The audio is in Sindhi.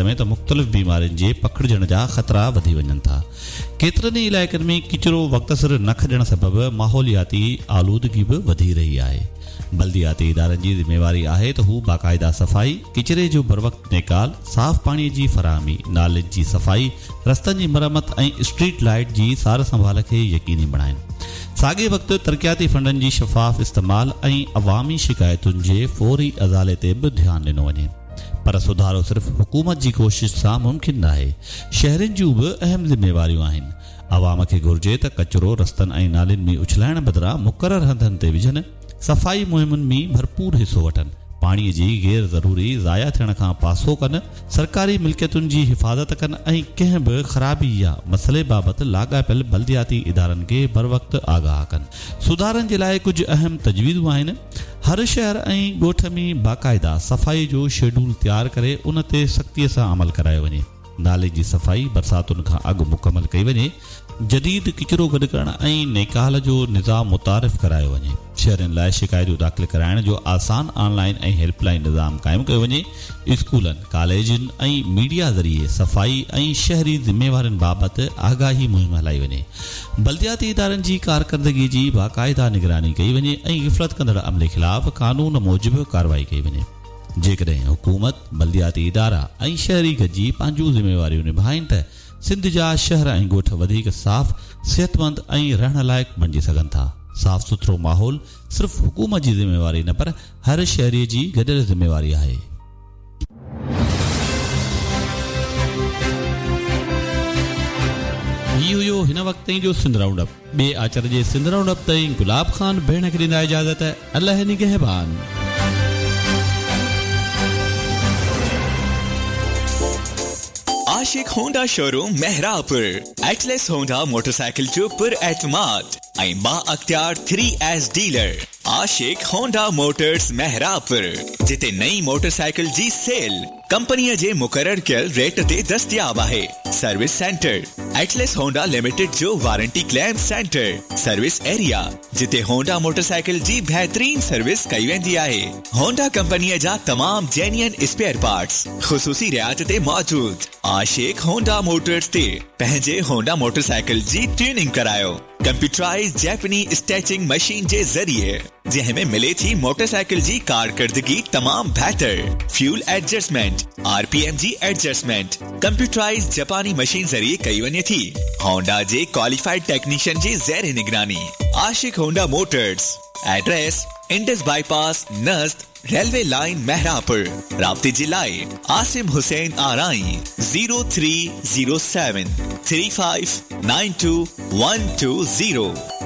۾ ته مختلف بيمارين جي پکڙجڻ جا خطرا وڌي وڃن ٿا. ڪيترن ئي علائقن ۾ ڪچرو وقت سر نه کڄڻ سبب ماحولياتي آلودگي به وڌي رهي آهي. بلدياتي ادارن جي ذميواري آهي ته هو باقاعده صفائي، ڪچري جو بروقت نيڪال، صاف پاڻي جي فراهمي، نالين جي صفائي، رستن جي مرمت ۽ اسٽريٽ لائيٽ جي سار سنڀال کي يقيني بڻائين. ساڳئي وقت ترقياتي فنڊن جي شفاف استعمال ۽ عوامي شڪايتن جي فوري ازالي تي به ڌيان ڏنو وڃي. پر سڌارو صرف حڪومت جي ڪوشش سان ممڪن ناهي، شهرين جون به اهم ذميواريون آهن. عوام کي گهرجي ته ڪچرو رستن ۽ نالين ۾ اڇلائڻ بدران مقرر هنڌن تي وجهن، صفائي مهمن ۾ ڀرپور حصو وٺن، پاڻي جي غير ضروري ضايع ٿيڻ کان پاسو ڪن، سرڪاري ملڪيتن جي حفاظت ڪن ۽ ڪنهن به خرابي يا مسئلي بابت لاڳاپيل بلدياتي ادارن کي بروقت آگاهه ڪن. سڌارن جي لاء ڪجهه اهم تجويزون آهن. هر شهر ۽ ڳوٺ ۾ باقاعده صفائي جو شيڊول تيار ڪري ان تي سختيء سان عمل ڪرايو وڃي. نالين جي صفائي برساتن کان اڳ مڪمل ڪئي وڃي. جديد ڪچرو گڏ ڪرڻ ۽ نيڪال جو نظام متعارف ڪرايو وڃي. شهرين لاء شڪايتون داخل ڪرائڻ جو آسان آن لائين ۽ هيلپ لائين نظام قائم ڪيو وڃي. اسڪولن، ڪاليجن ۽ ميڊيا ذريعي صفائي ۽ شهري ذميوارين بابت آگاهي مهم هلائي وڃي. بلدياتي ادارن جي ڪارڪردگي جي باقاعده نگراني ڪئي وڃي ۽ غفلت ڪندڙ عملي خلاف قانون موجب ڪارروائي ڪئي وڃي. جيڪڏهن حڪومت، بلدياتي ادارا ۽ شهري گڏجي پنهنجون ذميواريون نڀائين ته سنڌ جا شهر ۽ ڳوٺ وڌيڪ صاف، صحتمند ۽ رهڻ لائق بڻجي سگهن ٿا. صاف سٿرو ماحول صرف حڪومت جي ذميواري نه پر هر شهري جي گڏيل ذميواري آهي. هي هيو هن وقت تائين جو سنڌ رائونڊ اپ. ٻئي آچر جي سنڌ رائونڊ اپ تائين گلاب خان ڀيڻ کي ڏيندا اجازت. الله نگهبان. Ashiq Honda showroom Mehrabpur Atlas Honda motorcycle جو پر اعتماد ۽ بااختيار 3 S dealer Ashiq Honda motors Mehrabpur جتي نئين موٽرسائيڪل جي سيل ڪمپنيء جي مقرر ڪيل ريٽ تي دستياب آهي service centre Atlas Honda limited جو warranty claim centre service area جتي هونڊا موٽرسائيڪل جي بهترين سروس ڪئي ويندي آهي هونڊا ڪمپنيء جا تمام جينيئن اسپيئر پارٽس خصوصي رعايت تي موجود عاشق هونڊا موٽرز تي پنهنجي هونڊا موٽرسائيڪل جي ٽيوننگ ڪرايو ڪمپيوٽرائيزڊ جيپني اسٽيچنگ مشين جي ذريعي جنهن ۾ ملي ٿي موٽرسائيڪل جي ڪارڪردگي تمام بهتر fuel adjustment R P M جي ايڊجسٽمينٽ ڪمپيوٽرائيزڊ جپاني مشين ذريعي ڪئي وڃي ٿي هونڊا جي ڪواليفائيڊ ٽيڪنيشن جي زير نگراني Ashiq Honda motors address Indus bypass نزد ريلوي لائين مهراپور رابطي جي لاء Asim Hussain Arain 0307 3592 120.